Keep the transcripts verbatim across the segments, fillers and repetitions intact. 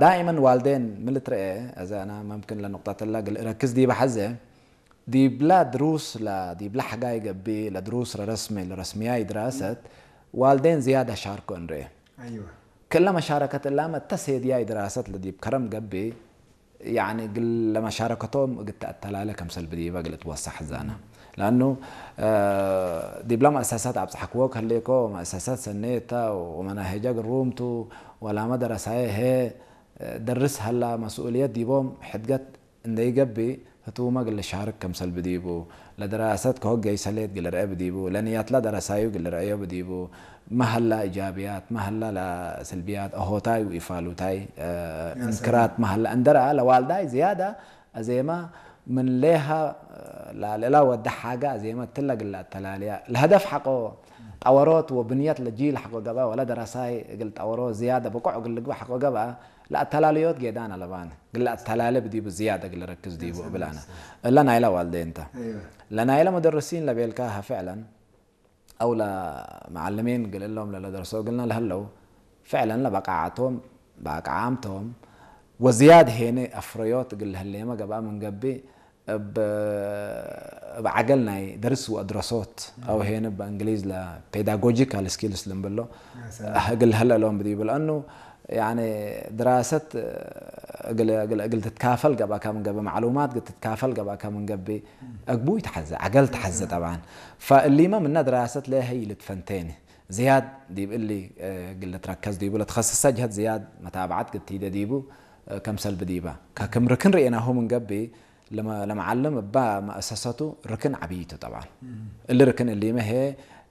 ዳኢመን ዋልዴን ምን ልትረኤ፣ አዜ አና መምክን ለኑቅጠት እላ እግል እረክዝ ዲበ ሐዜ፣ ዲብላ ድሩስ ለ-፣ ዲብላ ሐጋይ ገብእ፣ ለድሩስ ለረስሚ፣ ለረስምያይ ድራሰት፣ ዋልዴን ዝያድ አሻርኮ እንርኤ። አይወ። ክለ መሻረከት እላመ እተ ሴድያይ ድራሰት ለዲብ ከረም ገብእ፣ ያኒ እግል ለመሻረከቶም እግል ተአተላሌ ከምሰል ብዲበ እግል እትወሰሕ ዛነ። ለአኑ፣ እ፣ ዲብለ መአሰሳት አብጽሐክዎ ከሌኮ፣ መአሰሳት ሰኔ እተ ወመናሄጀ ግሩም ቱ፣ ወላመ ደረሳዬ ህዬ፣ እ፣ ደርስ ሀላ መስኡልየት ዲቦም ሕድገት እንዴ ኢገብእ፣ ህቱመ እግል ልሻርክ ከምሰል ብዲቡ፣ ለድራሰት ከሆገይ ሰሌት እግል ልርአ ብዲቡ፣ ለንያትላ ደረሳዩ እግል ልርአዮ ብዲቡ፣ መሀላ ኢጃብያት፣ መሀላ ለስልብያት፣ አሆታይ ወኢፋሉታይ፣ እ፣ ያ ሰላም። እንክራት መሀላ እንደ ረአ፣ ለዋልዳይ ዝያዳ አዜመ ምን ሌሃ፣ እ፣ ለልእላ ወደ ሓገ አዜመ እትለ እግል ለአተላልያ፣ ለሀደፍ ሐቆ ጠወሮት ወብንየት ለጂል ሐቆ ገብአ፣ ወለ ደረሳይ እግል ጠወሮ ዝያዳ ብቁዕ እግል ልግበእ ሐቆ ገብአ፣ ለአተላልዮት ጌዳን አለባን። እግል ለአተላሌ ብዲቡ ዝያድ እግል ልረክዝ ዲቡ እብላነ። እለ ናይለ ዋልዴን ተ። አይወ። ለናይለ ሙደርሲን ለቤልካሀ ፍዕለን፣ አው ለመዓልሚን እግል እሎም ለለደርሶ እግልነ ለህለው፣ ፍዕለን ለበቃዓቶም፣ በቃዓምቶም፣ ወዝያድ ሄነ አፍረዮት እግል ለህሌመ ገብአ ምን ገብእ፣ እብ፣ እብ ዐገል ናይ ደርስ ወአድረሶት፣ አው ሄነ በእንግሊዝ ለፔዳጎጂካል ስኪልስ ልንብሎ፣ ያ ሰላም። እግል ሀለ እሎም ብዲቡ። ለአኑ፣ ያኒ፣ ድራሰት እግል፣ እግል፣ እግል ትትካፈል ገብአከ ምን ገብእ፣ መዕሉማት እግል ትትካፈል ገብአከ ምን ገብእ፣ አግቡይ ተሐዜ፣ ዐገል ተሐዜ ጠብዓን። ፈእሊመ ምነ ድራሰት ለሀይ ልትፈንቴኒ። ዝያድ ዲብ እሊ፣ እ፣ እግል ልትረከዝ ዲቡ፣ ለትኸስሰ ጀህት ዝያድ መታብዐት እግል ቲደ ዲቡ፣ እ፣ ከምሰል ብዲበ። ከክም ርክን ርኤናሁ ምን ገብእ፣ ለመ-፣ ለመዓልም እበ መአሰሰቱ ርክን ዐቢይ ቱ ጠብዓን። እም። እሊ ርክን እሊመ ህዬ፣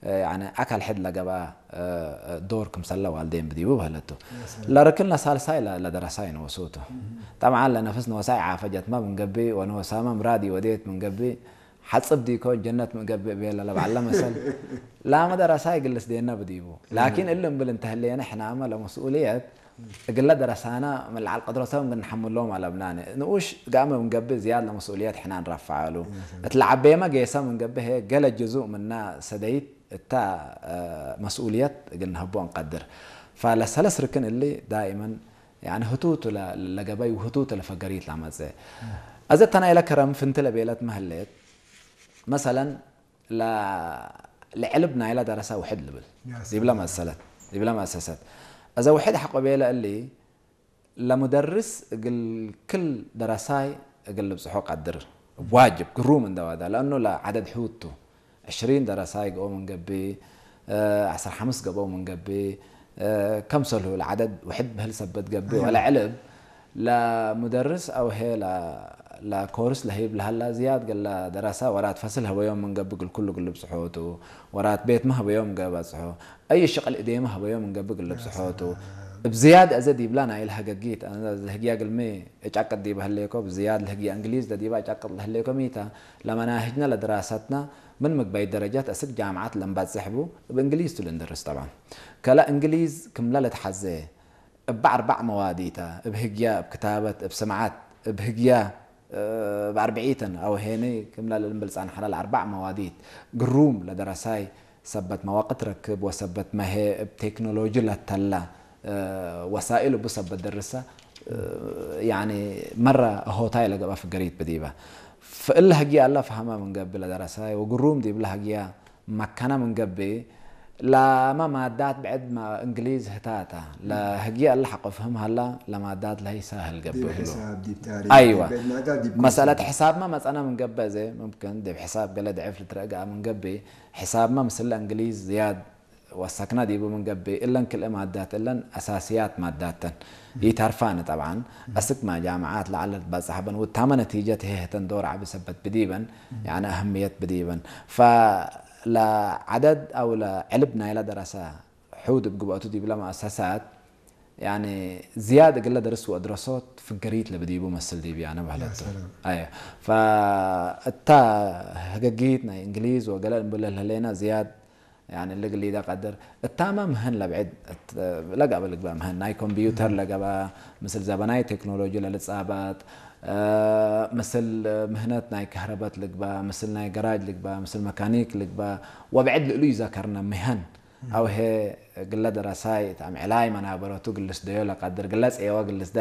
እ፣ ያኒ አካል ሕድ ለገብአ፣ እ፣ እ፣ ዶር ክምሰለ ዋልዴን ብዲቡ በህለቱ። ያ ሰላም። ለርክን ለሳልሳይ ለ-፣ ለደረሳይ ንወሱ ቱ። እም። ጠብዓን ለነፍስ ንወሳይ ዓፈጀትመ ምን ገብእ ወንወሳመ ምራድ ኢወዴት ምን ገብእ፣ ሐጽብ ዲኮ ጀነት ምን ገብእ ቤለ ለበዐለ መሰል። ላመ ደረሳይ እግል ልስዴነ ብዲቡ። ላኪን እም። እሊ እምብል እንተ ህሌነ ሕናመ ለመስኡልየት እግለ ደረሳነ ምን ለዐል ቀድረቶም እግል ንሐምሎም አለብናኒ። ንኡሽ ጋመ ምን ገብእ ዝያድ ለመስኡልየት ሕነ እንረፈዐሉ። እት ለዐቤመ ጌሰ ምን ገብእ ህዬ ገሌ ጅዙእ ምነ ሰደይት እተ፣ እ፣ መስኡልየት እግል ነሀቦ እንቀድር። ፈለሰለስ ርክን እሊ ዳኢመን ያኒ ህቱቱ ለ-፣ ለገበይ ወህቱቱ ለፈገሪት ለመጽእ። አዘ እተ ናይለ ከረም ፍንቲ ለቤለት መህሌት፣ መሰለን፣ ለ-፣ ለዕልብ ናይለ ደረሰ ውሕድ ልብል። ያ ዲብለ ሰላም። መሰለት፣ ዲብለ መአሰሰት። አዘ ውሕድ ሐቆ ቤለ እሊ፣ ለሙደርስ እግል ክል ደረሳይ እግል ልብጽሖ ቀድር። ዋጅብ፣ ግሩም እንደ ዋዳ፣ ለአኑ ለዐደድ ሑድ ቱ። ዕሽሪን ደረሳይ ገኦ ምን ገብእ፣ እ፣ ዐስር ሐምስ ገበኦ ምን ገብእ፣ እ፣ ከምሰልሁ ለዐደድ ውሕድ በህል ሰበት ገብእ፣ አዮ። ወለዕልብ ለሙደርስ አው ሄ ለ-፣ ለኮርስ ለህይብ ለሀላ ዝያድ ገለ ደረሳ ወራት ፈስል ሀበዮም ምን ገብእ እግል ኩሉ እግል ልብጽሖ ቱ፣ ወራት ቤትመ ሀበዮም እግል በጽሖ፣ አይ ሽቅል እዴመ ሀበዮም ምን ገብእ እግል ልብጽሖ ቱ። እብ ዝያድ አዘ ዲብላ ናይለ ሀገጊት፣ አዘ ህግያ እግልሚ እጫቅጥ ዲበ ህሌኮ፣ እብ ዝያድ ለህግያ እንግሊዝ ለዲባ እጫቅጥ ለህሌኮ ሚተ፣ ለመናህጅነ ለድራሰትነ ምን ምግበይ ደረጀት አስክ ጃምዓት ለንበጽሕ ቡ፣ እብ እንግሊዝ ቱ ልንደርስ ጠብዓን። ከለ እንግሊዝ ክምለ ልትሐዜ፣ እበ አርበዕ መዋዲተ፣ እብ ህግያ፣ እብ ክታበት፣ እብ ስምዓት፣ እብ ህግያ፣ እብ አርብዒተን አው ሄኒ ክምለ ልንብል ጸንሐነ ለአርበዕ መዋዲት ግሩም ለደረሳይ ሰበት መዋቅት ረክብ ወሰበት መሄ እብ ቴክኖሎጂ ለተላ፣ እ፣ ወሳኢል እቡ ሰበት ደርሰ፣ እ፣ ያኒ መረ ሆታይ ለገብአ ፍገሪት ብዲበ። ፈእለ ህግየ አለ ፈሀመ ምን ገብእ ለደረሳይ ወግሩም ዲብለ ህግየ መከነ ምን ገብእ፣ ላመ ማዳት ብዕድ ማ እንግሊዝ ህታተ፣ ለህግየ እለ ሐቆ ፍህም ሀላ፣ ለማዳት ለህይ ሳህል ገብእ ዲብ እግሉ። ሕሳብ፣ ዲብ ታሪክ፣ አይወ። ዲብ ናጋ፣ ዲብ መሰለት ኮንሰፕት። ሕሳብመ መጸነ ምን ገብእ፣ እዜ ሙምክን ዲብ ሕሳብ ገሌ ድዕፍ ልትረአ ገአ ምን ገብእ፣ ሕሳብመ ምስለ እንግሊዝ ዝያድ ወሰክነ ዲቡ ምን ገብእ፣ እለን ክልኤ ማዳት እለን አሳስያት ማዳት ተን። ኢተርፋነ ጠብዓን፣ አስክ መ ጃምዓት ለዐለ ልትበጸሕ በን፣ ውታመ ነቲጀት ህዬ ህተን ዶር ዐቢ ሰበት ብዲበን፣ ያኒ አህምየት ብዲበን። ፈለዐደድ አው ለዕልብ ናይለ ደረሰ ሑድ እብ ግብአቱ ዲብለ መአሰሳት፣ ያኒ ዝያድ እግለ ደርስ ወአድረሶት ፍገሪት ለብዲቡ መስል ዲብያነ በህለቱ። ያ ሰላም። አየ። ፈእታ ህገጊት ናይ እንግሊዝ ወገለ እንብለ ለህሌነ ዝያድ ያኒ ልግሊደ ቀድር። እታመ ምህን ለብዕድ እት-፣ ለገብአ ልግበእ ምህን ናይ ኮምፒውተር ለገብአ፣ ምስል ዘበናይ ቴክኖሎጂ ለልጻበጥ፣ እ፣ ምስል ምህነት ናይ ከህረበት ልግበእ፣ ምስል ናይ ገራጅ ልግበእ፣ ምስል መካኒክ ልግበእ፣ ወብዕድ ልእሉ ይዘከርነ ምህን አው ህይ እግለ ደረሳይ እት አምዕላይ መናበረቱ እግል ልስደዮ ለቀድር፣ እግለ ጸየወ እግል ልስደ